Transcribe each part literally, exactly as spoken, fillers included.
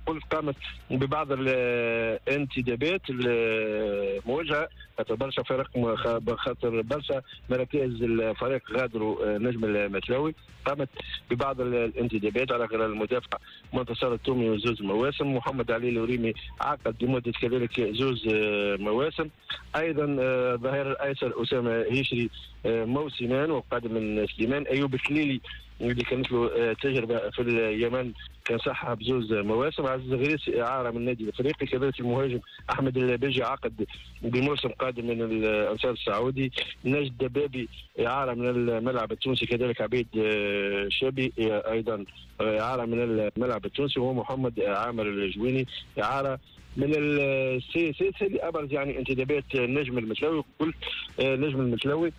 قلت قامت ببعض الانتدابات الموجهة، خاطر برشا فرق، خاطر برشا مراكز الفريق غادروا نجم المتلوي. قامت ببعض الانتدابات على غير المدافع منتصر التومي وزوز مواسم، محمد علي الوريمي عقد لمدة كذلك زوز مواسم، ايضا الظهير الايسر اسامة هيشري موسمان وقادم من سليمان، ايوب الكليلي اللي كانت له تجربه في اليمن كان صحها بزوز مواسم، عزيز غريس اعاره من النادي الافريقي، كذلك المهاجم احمد البيجي عقد بموسم قادم من الانصار السعودي، نجد دبابي اعاره من الملعب التونسي، كذلك عبيد شابي ايضا اعاره من الملعب التونسي، ومحمد عامر الجويني اعاره من السي سي. هذه ابرز يعني انتدابات النجم المتلوي. قلت نجم المتلوي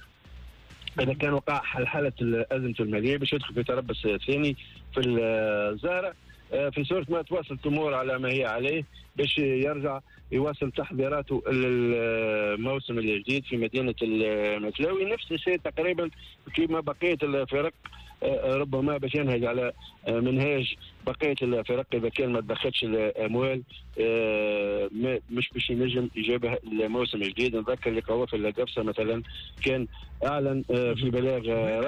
اذا كان وقع حلحله الازمة المالية باش يدخل في تربص ثاني في الزهرة، في صوره ما تواصل الامور على ما هي عليه باش يرجع يواصل تحضيراته للموسم الجديد في مدينة المتلاوي. نفس الشيء تقريبا كما بقية الفرق، ربما باش ينهج على منهاج بقية الفرق اذا كان ما تدخلش الاموال مش باش ينجم يجابه الموسم الجديد. نذكر اللي قوافل قفصه مثلا كان اعلن في بلاغ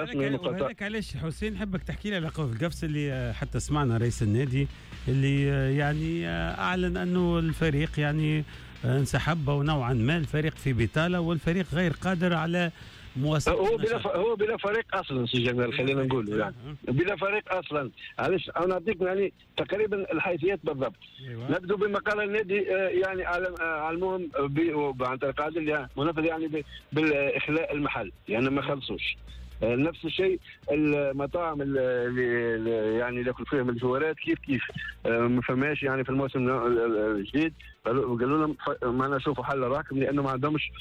رسمي. وهذاك علاش حسين نحبك تحكي لي على قوافل قفصه اللي حتى سمعنا رئيس النادي اللي يعني اعلن انه الفريق يعني انسحب ونوعا ما الفريق في بطاله والفريق غير قادر على مواصلة. هو بلا هو بلا فريق اصلا سي جمال، خلينا نقولوا يعني بلا فريق اصلا. علاش انا نعطيك يعني تقريبا الحيثيات بالضبط. أيوة. نبدو بما قال النادي يعني علموهم عن طريق عدل منفذ يعني بالاخلاء المحل، يعني ما خلصوش. نفس الشيء المطاعم اللي يعني ياكل فيهم الجوارات كيف كيف ما فماش يعني في الموسم الجديد، قالوا لهم ما نشوفوا حل راكم لانه ما عندهمش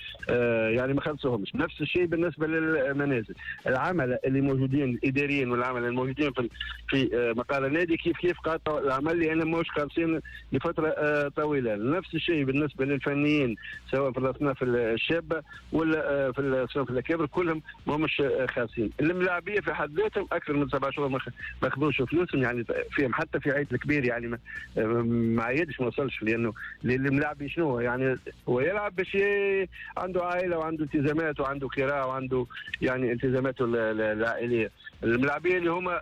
يعني ما خلصوهمش. نفس الشيء بالنسبة للمنازل، العملاء اللي موجودين الاداريين والعملاء الموجودين في في مقر النادي كيف كيف قاطعوا العمل لان ماهوش خالصين لفترة طويلة. نفس الشيء بالنسبة للفنيين سواء في الاصناف الشابة ولا في الاصناف الاكابر كلهم ماهمش خالصين. الملاعبيه في حد ذاتهم اكثر من سبع شهور ما خذوش فلوسهم، يعني فيهم حتى في عيد الكبير يعني ما, ما عيدش ما وصلش، لانه الملاعب شنو يعني هو يلعب باش عنده عائلة وعنده التزامات وعنده كراء وعنده يعني التزاماته العائلية. الملاعبيه اللي هما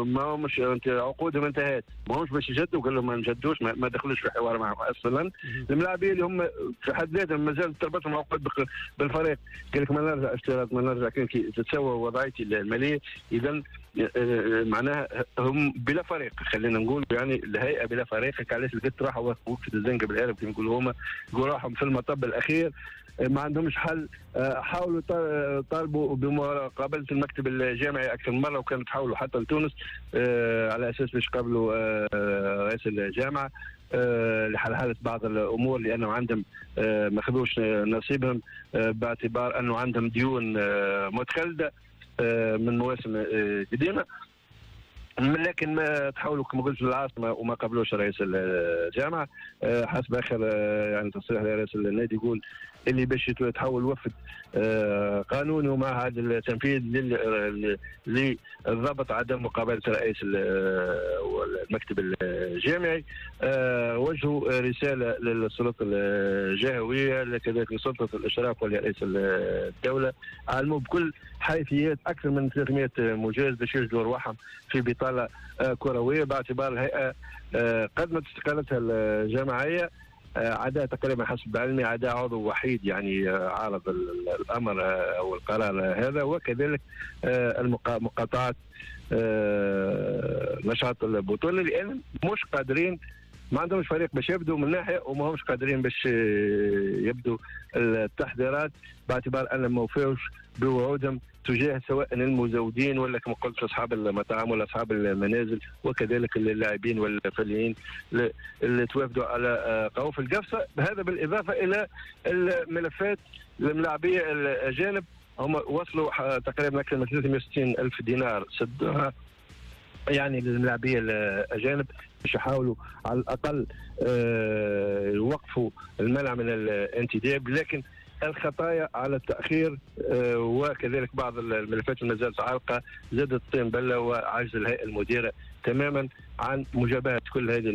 ما همش عقودهم انتهت ما همش باش يجدوا، قال لهم ما نجدوش، ما دخلوش في حوار معهم اصلا. الملاعبيه اللي هم في حد ذاتهم مازال تربطهم عقود بالفريق، قال لك ما نرجع اشتراط ما نرجع كان كي تتساوى وضعيتي المالية. اذا معناها هم بلا فريق، خلينا نقول يعني الهيئة بلا فريق. علاش لقيت راحوا وقفت الزنقة بالهارب كما يقولوا هما، راحوا في المطب الاخير ما عندهمش حل. حاولوا طالبوا بمقابله المكتب الجامعي اكثر من مرة، وكانوا تحاولوا حتى لتونس على اساس باش يقابلوا رئيس الجامعة لحلحله بعض الامور، لانه عندهم ما خذوش نصيبهم باعتبار انه عندهم ديون متخلده من مواسم قديمة. لكن ما تحاولوا كما قلت للعاصمه وما قبلوش رئيس الجامعة. حسب اخر يعني تصريح لرئيس النادي يقول اللي باش يتحول وفد قانوني ومع هذا التنفيذ للضبط عدم مقابله رئيس المكتب الجامعي. وجهوا رسالة للسلطة الجهوية كذلك لسلطه الاشراف ولرئيس الدولة، علموا بكل حيثيات اكثر من ثلاثمئة مجاز باش يجدوا ارواحهم في بطاله كروية، باعتبار الهيئة قدمت استقالتها الجماعية عدا تقريبا حسب علمي عدا عضو وحيد يعني عارض الامر او القرار هذا، وكذلك مقاطعه نشاط البطولة لان مش قادرين، ما عندهمش فريق باش يبدوا من ناحية، وما همش قادرين باش يبدوا التحضيرات باعتبار ان ما وفاوش بوعودهم تجاه سواء المزودين ولا كما قلت اصحاب المطاعم ولا اصحاب المنازل وكذلك اللاعبين والفنيين اللي توافدوا على قوافل القفصه. هذا بالاضافة الى الملفات الملاعبيه الاجانب، هم وصلوا تقريبا اكثر من ثلاثمئة وستين الف دينار سدوها يعني للملاعبيه الاجانب باش يحاولوا على الاقل يوقفوا المنع من الانتداب، لكن الخطايا على التاخير آه، وكذلك بعض الملفات اللي ما زالت عالقة زادت الطين بله، وعجز الهيئة المديرة تماما عن مجابهة كل هذه